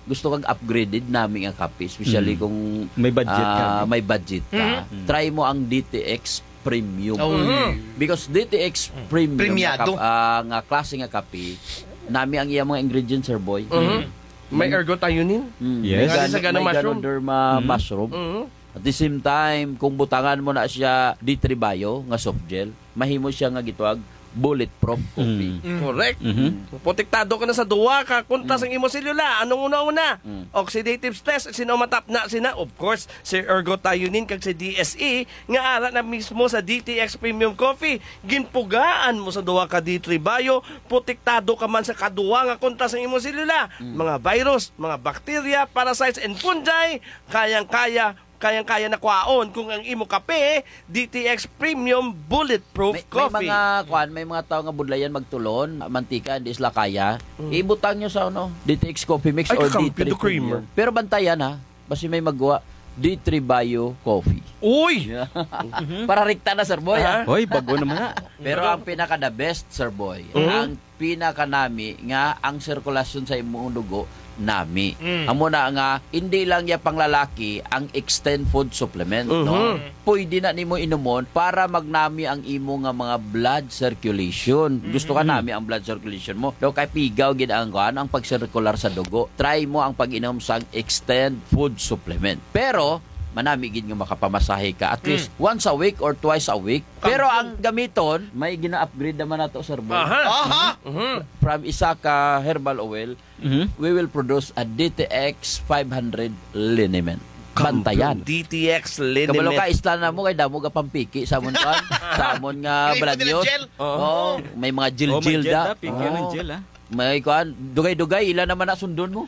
gusto kag upgraded nami nga kape, especially Mm. kung, May budget ka, ah, no? may budget ka. Mm. Mm. Try mo ang D T X Premium. Oh, Mm. yeah. Because D T X Mm. Premium Premiado. nga kap-, ah, nga klase nga kape, nami ang iyang mga ingredients, Sir Boy. Mm. Mm. May ergothioneine? Mm. Yes. May May gan-, sa ganang may mushroom? Ganoderma Mm. mushroom. Mm. At the same time, kung butangan mo na siya D three Bio nga soft gel, mahimo siya nga gitawag bulletproof coffee. Mm. Mm. Correct. Mhm. Protektado ka na sa duwa ka kontra Mm. sang imo selula. Anong una-una? Mm. Oxidative stress, sino matapna sina? Of course, si ergothioneine kag si D S E, nga ara na mismo sa D T X Premium Coffee. Ginpugaan mo sa duwa ka D three Bio, protektado ka man sa kaduwa nga kontra sang imo selula. Mm. Mga virus, mga bacteria, parasites, and fungi, kayang-kaya kayang-kaya na kwaon kung ang imo kape, D T X Premium Bulletproof May, may Coffee. mga, kwan, may mga tao nga budlayan magtulon, mantika, hindi sila kaya. Mm. Ibutang nyo sa, ano, D T X Coffee Mix Ay, or kakampi D three do creamer. Premium. Pero bantayan, ha, basi may magwa, D three Bio Coffee. Uy! Yeah. Mhm. Para rikta na, Sir Boy, ha? Aha. Hoy, bago naman na. Pero ang pinaka the best, Sir Boy, Mhm. ang pinakanami nga ang sirkulasyon sa imong dugo nami. Mm. Amo na nga, hindi lang ya panglalaki ang Extend Food Supplement, no? Mhm. Pwede na nimo inumon para magnami ang imo nga mga blood circulation. Gusto ka Mhm. nami ang blood circulation mo. Daw kay pigaw gid ang, kuan, ang pagsirkular sa dugo. Try mo ang pag-inom sang Extend Food Supplement. Pero, manami gid nga makapamasahe ka at Mm. least once a week or twice a week. Pero Kampiyon. ang gamiton, may gina-upgrade naman nato, Sir Boy. Aha. Aha. Mhm. From isa ka herbal oil, Mhm. we will produce a D T X five hundred liniment. bantayan. D T X Liniment. Kabalo ka, isla na mo kay damo ka pampiki sa amon, kuan, sa amon nga Lipo nila balanyos. Gel. Oo. Oo, may mga gel-gel Oh, may gel da. da, pink yan ang Oo. gel, ah. May kuan, dugay-dugay, ila naman na sundon mo.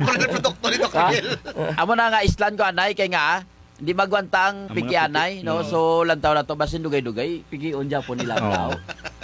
Mura na produkto ni Doc Ha? Miguel. Amo na nga islan ko, anay, kay nga, ah, di magwanta ang Ang mga pikianay, piki. no? Oo. So, lantaw na to, basin dugay-dugay, pikion dyan po nila ang Oo. tao.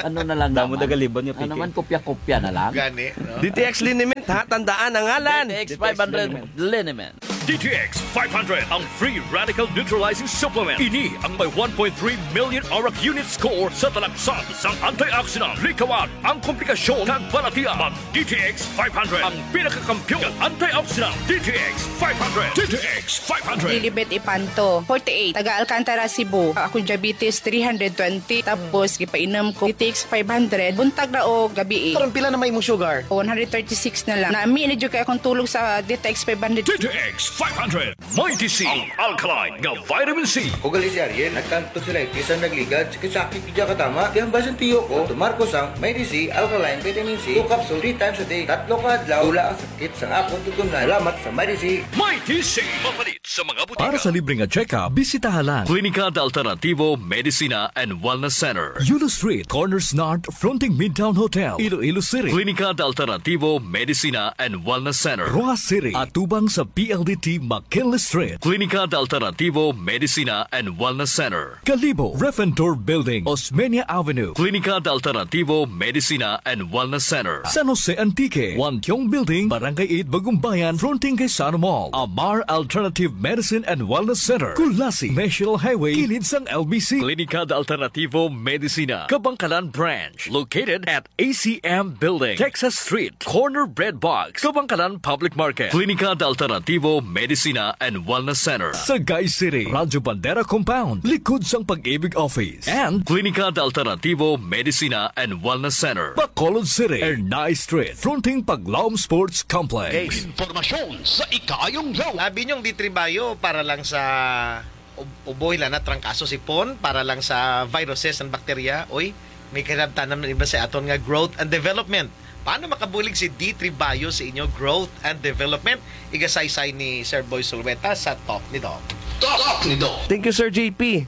Ano na lang Damo naman? Dagalibon nga Ano piki. man, kopya-kopya na lang? Gani, no? D T X Liniment, ha? Tandaan ang ngalan. D T X five hundred Liniment. D T X five hundred, ang free radical neutralizing supplement. Ini ang may one point three million arak unit score sa talaksan sang antioxidant. Likawan ang komplikasyon kag balatian. Mag D T X five hundred, ang pinakakampiyon nga antioxidant. D T X five hundred. D T X five hundred. Lilibet Ipanto, forty-eight, taga Alcantara, Cebu. Akong diabetes, three hundred twenty. Tapos, gipainom ko D T X five hundred, buntag na o gabi, eh. Karon, pila na may imong sugar? One hundred thirty-six na lang. Nami na jud kay akong tulog sa D T X five hundred. D T X five hundred. Mighty C, ang alkaline nga vitamin C. Ugali si Ariel, nagkantog sila, bisan nagligad, sakit-sakit, di siya katama. Kaya ang basin tiyo ko, tumar ko sang Mighty C, alkaline vitamin C, two capsule, three times a day. Tatlo ka adlaw, wala ang sakit sa akong tutunlan. Salamat sa Mighty C. Mighty C. Mapalit sa mga butika. Para sa libre nga check-up, bisitaha lang Klinika de Alternativo Medicina and Wellness Center. Yulo Street, Corners North, fronting Midtown Hotel, Iloilo City. Klinika de Alternativo Medicina and Wellness Center. Roxas City, atubang sa P L D T McKinley Street. Klinika de Alternativo Medicina and Wellness Center. Kalibo, Refentor Building, Osmeña Avenue. Klinika de Alternativo Medicina and Wellness Center. San Jose Antique, Wantiong Building, Barangay eight, Bagumbayan, fronting kay Sano Mall. Amar Alternative Medicine and Wellness Center, Culasi, National Highway, kilid sang L B C. Klinika de Alternativo Medicina, Kabangkalan Branch, located at A C M Building, Texas Street, corner Bread Box, Kabangkalan Public Market. Klinika de Alternativo Medicina and Wellness Center, Sagay City, Radyo Bandera Compound, likod sang Pag-ibig Office. And Klinika de Alternativo Medicina and Wellness Center, Bacolod City, Ernai Street, fronting Paglaom Sports Complex. Impormasyon sa ikaayong yawa. Abi niyong D three Bio para lang sa ub-, uboy lang na trangkaso sipon, para lang sa viruses and bakterya. Oy, may kinabtanan man iba sa aton nga growth and development. Paano makabulig si D three Bio sa inyo growth and development? Igasaysay ni Sir Boy Sulweta sa Talk ni Doc. Talk ni Doc. Thank you, Sir J P.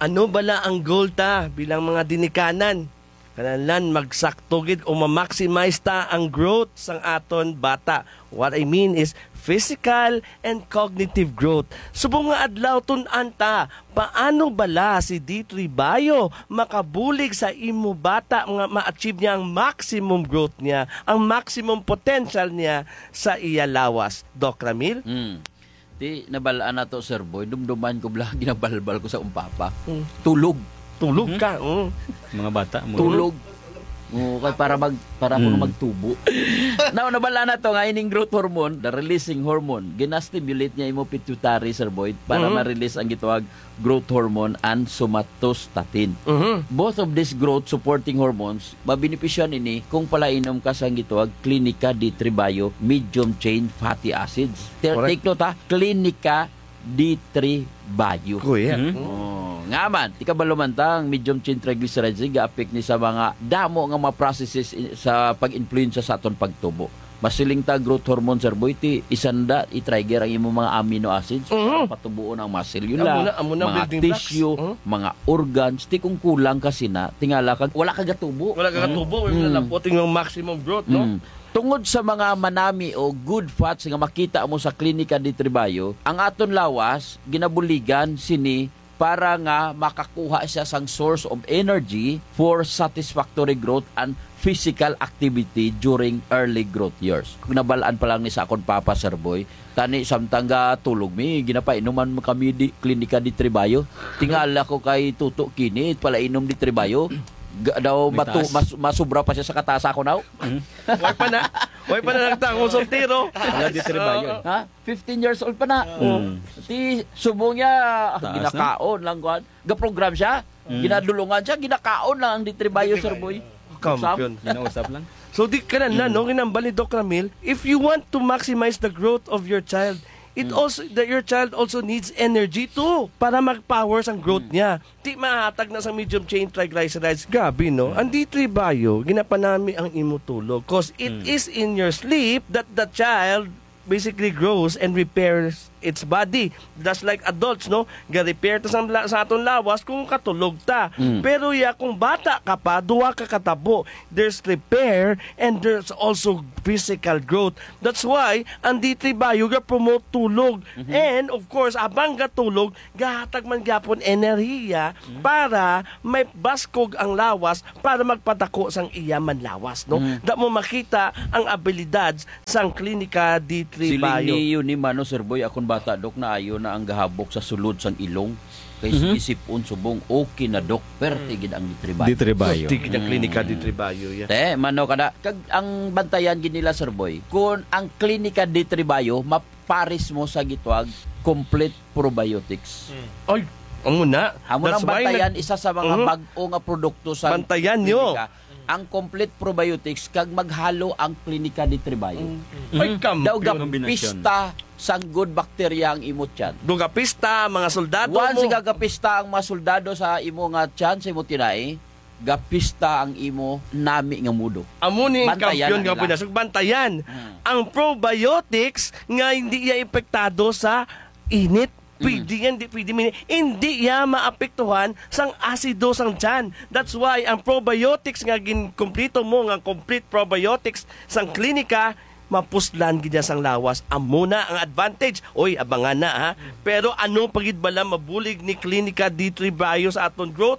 Ano bala ang goal ta bilang mga dinikanan? Kinahanglan magsakto gid o ma-maximize ta ang growth sang aton bata. What I mean is physical and cognitive growth. Subong nga adlaw, tun-an ta, paano bala si D three Bio makabulig sa imo bata nga ma-achieve niya ang maximum growth niya, ang maximum potential niya sa iya lawas? Doc Ramil? Hmm. Di, nabal-an na to, Sir Boy. Dumduman ko bala, ginabalbal ko sa akong papa. Mm. Tulog. Tulog Mhm. ka, mm. Mga bata, mo. Tulog. Oo, kay para mag-, para ako Mm. magtubo. Now, nabal-an na to nga ining growth hormone, the releasing hormone, ginastimulate niya imo pituitary, Sir Boy, para Mhm. ma-release ang gitawag growth hormone and somatostatin. Mhm. Both of these growth supporting hormones, mabenepisyohan ini kung palainom ka sa gitawag Klinika D three Bio medium chain fatty acids. Ter-, Correct. take note ha, Klinika D three Bio. Kuya. Mhm. Oh, nga man, di kabalo man ta ang medium chain triglycerides, ga-affect ni sa mga damo nga mga processes i-, sa pag-influensya sa aton pagtubo. Masiling ta growth hormone, Sir Boy, ti isanda i-trigger ang imong mga amino acids Mhm. para patubuon ang mga selula, Amo na, amo na mga building blocks. tissue, Mhm. mga organs. Ti kung kulang ka sina, tingala kag wala ka gatubo. Wala ka Mhm. gatubo, wala Mm. lapot yung maximum growth, no? Mm. Tungod sa mga manami o good fats nga makita mo sa Klinika D three Bio, ang aton lawas ginabuligan sini para nga makakuha siya sang source of energy for satisfactory growth and physical activity during early growth years. Nabal-an pa lang ni sa akon papa, Sir Boy, tani samtang ga tulog mi, ginapainuman mo kami di Klinika D three Bio. Tingala ko kay Tuto kini, palainom D three Bio. Ga-, daw May matu-, taas. mas-, masubra pa siya sa katasa ko now. Mm. Way pa na. Way pa na nagtangos ang tiro. Wala D three Bio. Oo. Ha? Fifteen years old pa na. Mm. Ti, subong niya, ah, Taas na. ginakaon lang, kuwan. Ga-program siya, Mm. ginadulungan siya, ginakaon lang ang D three Bio, D three Sir Bio. Boy. Kampiyon. Sam? Ginausap lang. So, di ka na, na, Mm. no? Ginambal ni Doc Ramil, if you want to maximize the growth of your child, it Mm. also, that your child also needs energy too para mag-power sang growth Mm. niya. Di mahatag na sa medium chain triglycerides. Grabe, no? Mm. Ang D three Bio, ginapanami ang imo tulog 'cause it Mm. is in your sleep that the child basically grows and repairs its body. Just like adults, no? Ga-repair ta sa, la- sa aton lawas kung katulog ta. Mm. Pero ya, kung bata ka pa, duha ka katabo. There's repair and there's also physical growth. That's why ang D three Bio ga-promote tulog. Mhm. And of course, abang gatulog, gahatag man gyapon enerhiya Mm. para may baskog ang lawas para magpadako sang iya man lawas, no? Mm. Da mo makita ang abilidad sang Klinika D three Siling Bio. Ni Yuni Mano, Sir Boy, akon bata, Dok, naayo na ang gahabok sa sulod sang ilong. Kay Mhm. sige, sipon subong, okay na, Dok. Perte Mm. gid ang D three Bio. D three Bio. Pwerte gid ang Klinika Mm. D three Bio, yeah. Te, mano ka na. Kag ang bantayan gid nila, Sir Boy, kung ang Klinika D three Bio, mapares mo sa gitawag complete probiotics. Mm. Ay, amo na. Amo That's nang why bantayan, nag- isa sa mga Mhm. bag-o nga produkto sa Bantayan nyo. Klinika, ang complete probiotics, kag maghalo ang Klinika D three Bio. Mm. Ay, Mhm. Daw kampiyon. Kombinasyon. Gapista sang good bacteria ang imo tiyan. Dugapista, mga soldado Once mo. Gagapista ang mga soldado sa imo nga tiyan, sa imo tinai, gapista ang imo nami nga mudo. Amo ni Bantayan kampiyon ang nga ila. Pinas-, bantayan. Hmm. Ang probiotics nga hindi iya epektado sa init. Pwede Mm. yan, di pwede mini-, hindi iya maapektuhan sang asido sang tiyan. That's why ang probiotics nga ginkumplito mo, nga complete probiotics sang Klinika, mapuslan gid niya sang lawas. Amo na ang advantage. Oy, abangan na, ha. Pero ano pa gid bala mabulig ni Klinika D three Bio sa aton growth?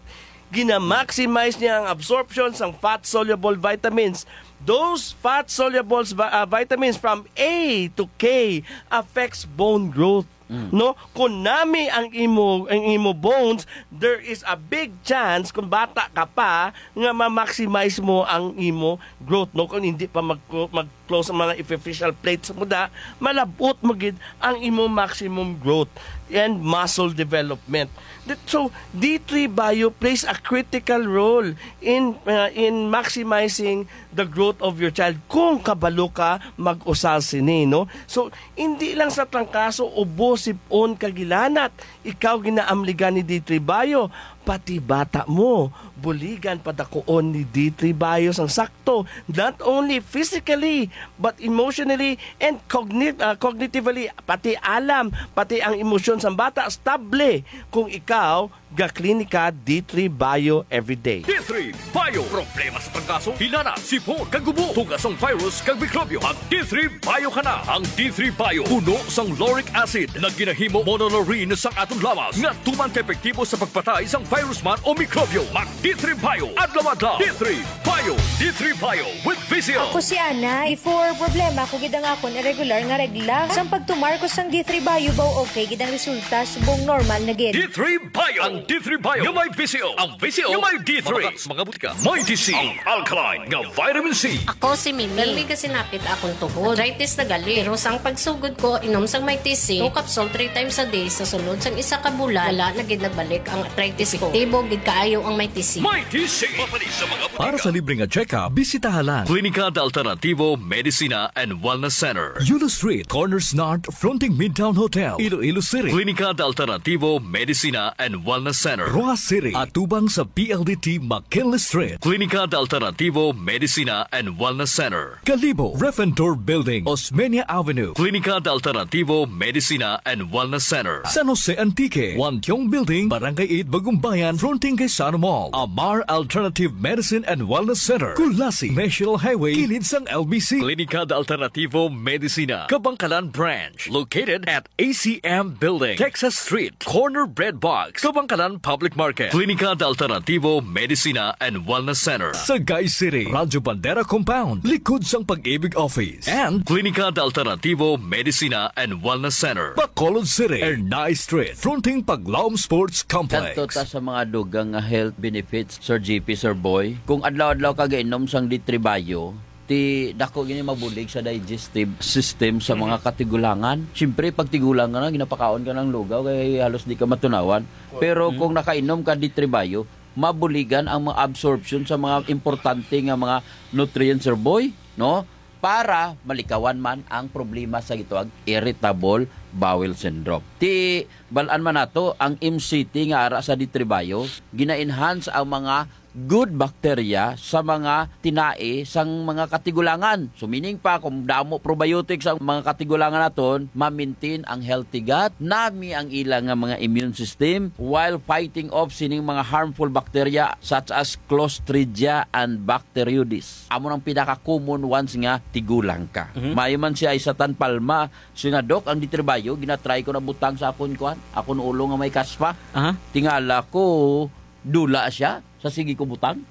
Gina-maximize niya ang absorption sang fat-soluble vitamins. Those fat-soluble vi-, ah, vitamins from A to K affects bone growth. Mm. No, kung nami ang imo, ang imo bones, there is a big chance kung bata ka pa nga ma-maximize mo ang imo growth, no? Kung hindi pa mag mag-close ang mga epiphyseal plates mo da, malabot mo gid ang imo maximum growth and muscle development. That, so, D three Bio plays a critical role in, uh, in maximizing the growth of your child kung kabalo ka mag-usal sini, no? So, hindi lang sa trangkaso, ubo, sipon, kagilanat, ikaw ginaamligan ni D three Bio, pati bata mo, buligan padakuon ni D three Bio sang sakto, not only physically, but emotionally and cogni-, ah, cognitively, pati alam, pati ang emosyon sang bata, stable kung ikaw ga-Klinika D three Bio everyday. D three Bio. Problema sa trangkaso, hilanat, sipon, kag ubo, tugas sang virus kag mikrobyo. Mag D three Bio ka na. Ang D three Bio puno sang lauric acid nga ginahimo monolaurin sang aton lawas nga tuman ka epektibo sa pagpatay sang virus man o mikrobyo. Mag D three Bio adlaw-adlaw. D three Bio. D three Bio with Visio. Ako si Ana. Before, problema ko gid ang akon irregular nga regla. Sang pagtumar ko sang D three Bio, baw okay gid ang resulta, subong normal na gid. D three Bio. Ang D three Bio nga may Visio. Ang Visio nga may D three. Mga, mga butika. May D C. Ang alkaline nga vitamin C. Ako si Mimi. Nalmi ka sinapit akong tuhod. Arthritis na gali. Pero sang pagsugod ko, inom sang may T C, two capsule three times a day sa sulod sang isa ka bulan, wala na gid nagbalik ang arthritis ko. Epektibo gid kaayo ang may T C. May T C. Mapanis sa mga Para sa libre nga check-up, bisitaha lang Klinika de Alternativo Medicina and Wellness Center, Yulo Street, Corners North, fronting Midtown Hotel, Iloilo City. Klinika de Alternativo Medicina and Wellness Center, Roxas City, atubang sa P L D T McKinley Street. Klinika de Alternativo Medicina and Wellness Center, Kalibo, Refentor Building, Osmeña Avenue. Klinika de Alternativo Medicina and Wellness Center, San Jose Antique, Wantiong Building, Barangay eight, Bagumbayan, fronting kay Sano Mall. Amar Alternative Medicine and Wellness Center, Culasi, National Highway, kilid sang L B C. Klinika de Alternativo Medicina, Kabangkalan Branch, located at A C M Building, Texas Street, corner Bread Box, Kabangkalan Public Market. Klinika de Alternativo Medicina and Wellness Center, Sagay City, Radyo Bandera Compound, likod sang Pag-ibig Office, and Klinika de Alternativo Medicina and Wellness Center, Bacolod City, Ernai Street, fronting Paglaom Sports Complex. Kadto ta sa mga dugang nga health benefits, Sir G P, Sir Boy. Kung adlaw-adlaw ka gainom sang D three Bio, ti dako gini mabulig sa digestive system sa mga katigulangan. Siyempre, pag tigulang ka na, ginapakaon ka ng lugaw, kay halos di ka matunawan. Pero kung nakainom ka D three Bio, mabuligan ang mga absorption sa mga importante nga mga nutrients, Sir Boy, no? Para malikawan man ang problema sa gitawag irritable bowel syndrome. Ti, balaan man nato, ang M C T nga ara sa D three Bio, gina-enhance ang mga good bacteria sa mga tinai sang mga katigulangan. So, meaning pa, kung damo probiotics ang mga katigulangan naton, ma-maintain ang healthy gut, nami ang ila nga mga immune system while fighting off sining mga harmful bacteria such as Clostridia and Bacteroides. Amo nang pinaka-common ones nga tigulang ka. Mhm. Maayo man si Aisatan Palma, siya nga, "Doc, ang D three Bio, ginatry ko na butang sa akon, kuan, akon ulo nga may kaspa." Aha. Tingala ko, dula siya sa sige ko butang.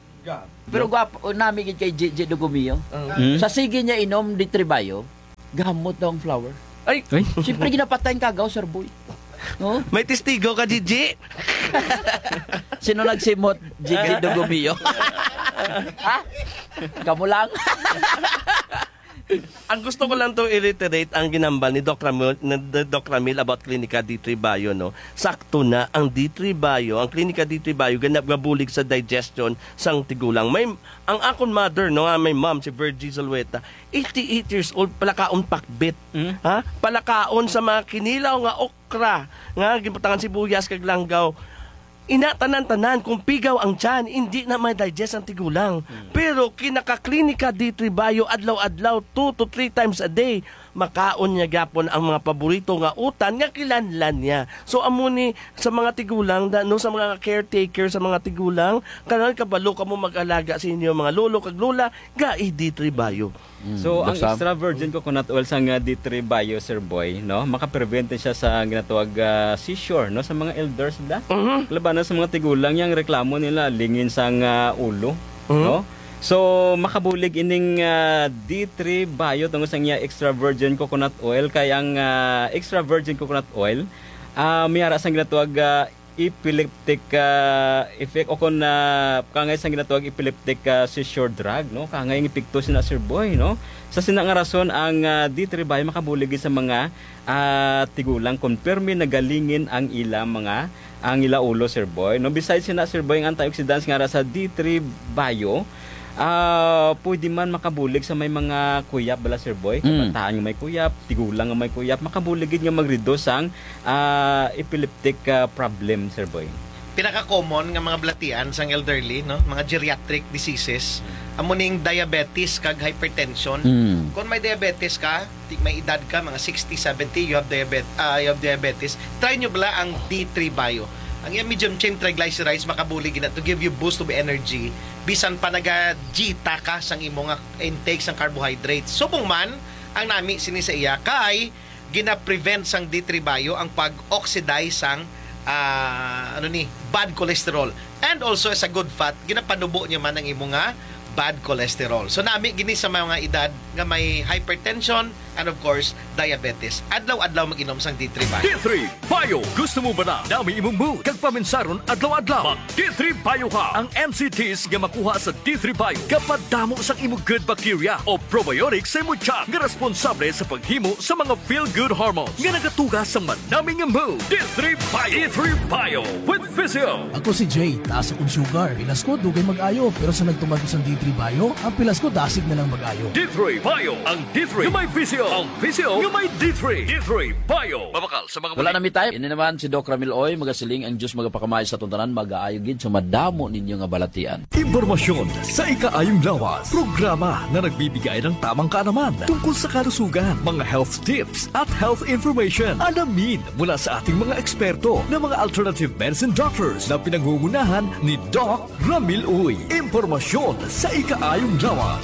Pero gwapo, nami gid kay J J Dugumio. Mm. Sa sige niya inom D three Bio, gamot daw ang flower. Ay! Ay. Siyempre, ginapatay ang kagaw, Sir Boy. No? May testigo ka, J J? Sino nagsimot? J J Dugumio. Ha? Kamo lang. Ang gusto ko lang to i-reiterate ang ginambal ni Doc Ramil, ni Doc Ramil about Clinica D three Bio, no? Sakto na ang D three Bio, ang Clinica D three Bio, ganap gabulig sa digestion sang tigulang. May, ang akon mother, no, nga may mom, si Virgie Zulueta, eighty-eight years old, palakaon pakbit. Mm. Ha? Palakaon sa mga kinilaw nga okra, nga ginbutangan sibuyas kag langgaw. Ina, tanan-tanan, kung pigaw ang tiyan, hindi na may digest ang tigulang. Mm. Pero kinaka-Clinica D three Bio, adlaw-adlaw, two to three times a day, makaon niya gyapon ang mga paborito nga utan nga kinahanglan niya. So, amo ni sa mga tigulang, da-, no, sa mga caretaker, sa mga tigulang, kanan kabalo kamo mag-alaga sa inyo mga lolo kag lola, gai D three Bio. Mm, So, ang Doc Sam? extra virgin coconut oil sang, ah, D three Bio, Sir Boy, no? Makaprevent siya sa ginatawag, ah, seizure, no? Sa mga elders, da? Mhm. Labanan sa mga tigulang, yang reklamo nila, lingin sang, ah, ulo, Mhm. no? So, makabulig ining, ah, D three Bio tungod sa iya extra virgin coconut oil, kay ang, ah, extra virgin coconut oil, ah, may ara sang ginatawag, ah, epileptic, ah, effect o kon, ah, kangay sang ginatawag epileptic, ah, seizure drug, no? Kangay ang epekto sina, Sir Boy, no? Sa sina nga rason, ang, ah, D three Bio makabulig sa mga, ah, tigulang kon pirmi nagalingin ang ila mga, ang ila ulo, Sir Boy, no? Besides sina, Sir Boy, ang antioxidants nga ara sa D three Bio, ah, pwede man makabulig sa may mga kuyap bala, Sir Boy. Mm. Kabataan nga may kuyap, tigulang nga may kuyap, makabulig gid nga mag-reduce ang ah, epileptic, ah, problem, Sir Boy? Pinaka-common nga mga balatian sang elderly, no, mga geriatric diseases, amo ning diabetes kag hypertension. Mm. Kung may diabetes ka, ti-, may edad ka, mga sixty, seventy, you have diabet-, ah, you have diabetes, try nyo bala ang D three Bio. Ang iyang medium chain triglycerides makabulig gina to give you boost of energy bisan pa naga-dieta ka sang imo nga intake sang carbohydrates. Subong man ang nami sini sa iya kay gina-prevent sang D three Bio ang pag-oxidize sang, ah, ano ni, bad cholesterol. And also, as a good fat, ginapanubo niya man ang imo nga bad cholesterol. So, nami gini sa mga edad nga may hypertension and, of course, diabetes. Adlaw-adlaw mag-inom sang D three Bio. D three Bio. Gusto mo ba na nami imong mood kag paminsaron adlaw-adlaw? Mag D three Bio ka. Ang M C Ts nga makuha sa D three Bio gapadamo sang imo good bacteria o probiotics sa imo tiyan nga responsable sa paghimo sa mga feel-good hormones nga nagatuga sa manami nga mood. D three Bio. D three Bio with Physio. Ako si Jay, taas akong sugar. Pilas ko, dugay mag-ayo, pero sa nagtuman ko sa D three Bio, ang pilas ko dasig na lang mag-ayo. D three Bio, ang D three nga may Physio, ang Physio nga may D three. D three Bio. Mabakal sa mga Wala na mi time. Ini naman si Doc Ramil Oy, magasiling ang Diyos magapakamay sa atong tanan, magaayo gid sa madamo ninyo nga balatian. Impormasyon sa ikaayong lawas. Programa na nagbibigay ng tamang kaalaman tungkol sa kalusugan, mga health tips at health information. Alamin mula sa ating mga eksperto na mga alternative medicine doctors na pinangungunahan ni Doc Ramil Uy. Impormasyon sa ikaayong lawas.